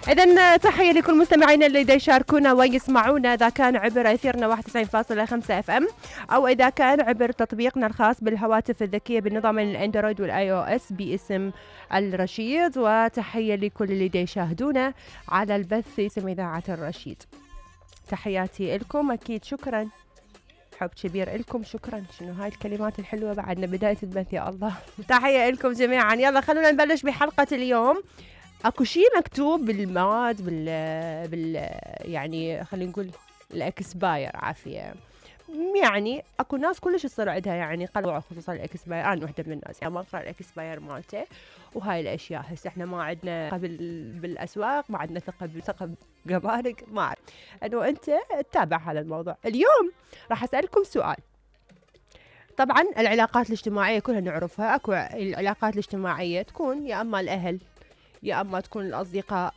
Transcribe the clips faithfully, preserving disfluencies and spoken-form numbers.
إذن تحية لكل مستمعينا اللي دا يشاركونا ويسمعونا، إذا كان عبر أثيرنا واحد وتسعين فاصلة خمسة اف ام، أو إذا كان عبر تطبيقنا الخاص بالهواتف الذكية بالنظام الأندرويد والآي أو إس باسم الرشيد. وتحية لكل اللي دا يشاهدونا على البث اسم إذاعة الرشيد. تحياتي لكم، أكيد شكرا، حب كبير لكم، شكرا. شنو هاي الكلمات الحلوة بعدنا بداية البث يا الله. تحية لكم جميعا. يلا خلونا نبلش بحلقة اليوم. اكو شيء مكتوب بالمواد بال بال يعني خلينا نقول الاكسباير عافيه، يعني اكو ناس كلش تصير عندها يعني قلق خصوصا الاكسباير. انا وحده من الناس يعني ما اقرا الاكسباير مالته وهاي الاشياء. هسه احنا ما عندنا قبل بالاسواق، ما عندنا ثقه بالثقه جمارك، ما اعرف انه انت تتابع هذا الموضوع. اليوم راح اسالكم سؤال. طبعا العلاقات الاجتماعيه كلها نعرفها. اكو العلاقات الاجتماعيه تكون يا اما الاهل، يا اما تكون الاصدقاء،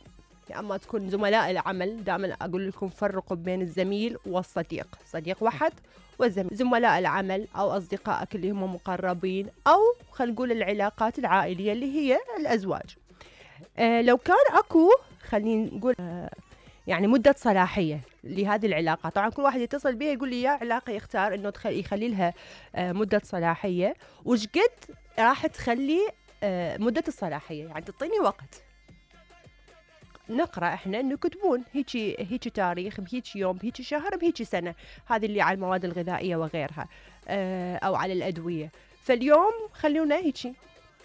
يا اما تكون زملاء العمل. دائما اقول لكم فرقوا بين الزميل والصديق، صديق واحد والزميل. زملاء العمل او اصدقائك اللي هم مقربين، او خلينا نقول العلاقات العائليه اللي هي الازواج. آه لو كان اكو خلينا نقول آه يعني مده صلاحيه لهذه العلاقه، طبعا كل واحد يتصل بي يقول لي يا علاقه يختار انه يخلي لها آه مده صلاحيه، وش قد راح تخلي آه مده الصلاحيه، يعني تعطيني وقت. نقرأ احنا انه يكتبون هيجي هيجي تاريخ، بهيجي يوم، بهيجي شهر، بهيجي سنة. هذه اللي على المواد الغذائية وغيرها اه او على الأدوية. فاليوم خلونا هيجي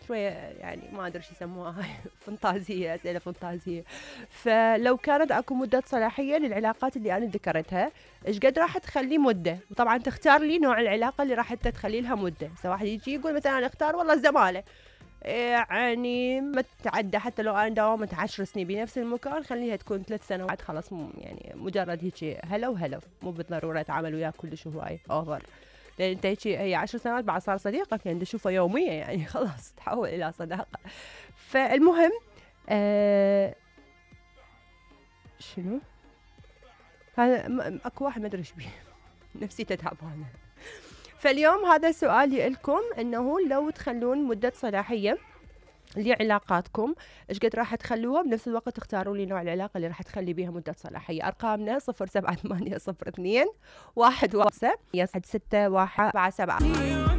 شوية يعني ما ادري شو يسموها هاي فانتازية، اسئلة فانتازية. فلو كانت اكو مدة صلاحية للعلاقات اللي انا ذكرتها، ايش قد راح تخلي مدة؟ وطبعا تختار لي نوع العلاقة اللي راح تخلي لها مدة. سواء واحد يجي يقول مثلا انا اختار والله الزمالة، يعني ما تتعدى حتى لو انا داومت عشر سنين بنفس المكان، خليها تكون ثلاث سنوات خلاص، يعني مجرد هيك هلا وهلا، مو بالضروره اتعامل وياك كلش هواي اوفر. لان انت هيك هي عشر سنوات بعد صار صديقك، يعني تشوفه يوميا يعني خلاص تحول الى صداقه. فالمهم آه شنو هذا؟ اكو واحد ما ادري ايش بيه نفسيته تعبانه. فاليوم هذا سؤالي لكم، انه لو تخلون مدة صلاحية لعلاقاتكم، ايش قد راح تخلوها؟ بنفس الوقت تختاروا لي نوع العلاقة اللي راح تخلي بيها مدة صلاحية. ارقامنا صفر سبعة ثمانية صفر اثنين واحد خمسة واحد ستة واحد سبعة سبعة.